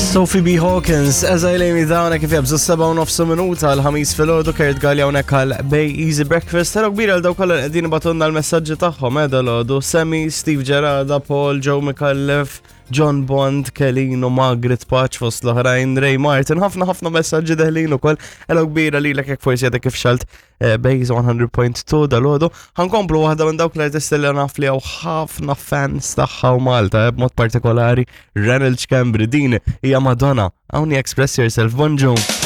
Sophie B. Hawkins, as I lay me down, kif jabżu 7 u nofsu minuta l-ħamis fil-ħodu, Kurt Gallia unek għal Bay Easy Breakfast. Hello kbira għal daw kollha li qegħdin batunna l-messaġġi tagħhom, eh, dal-ħodu. Sammy, Steve Gerada, Paul, Joe Micallef, John Bond, Kelino, Margaret Patch fost l-oħrajn, Ray Martin, ħafna ħafna messaġġi deħlin ukoll. Hello kbira lilek jekk forsi għadek kif xalt Eh, Base 100.2 dal-ħodu. Ħankomplu waħda minn dawk l-artisti li naf li hawn ħafna fans tagħha u Malta, eh, b'mod partikolari Ronald Cambry. Din hija Madonna. Hawn Express Yourself. Bonġu.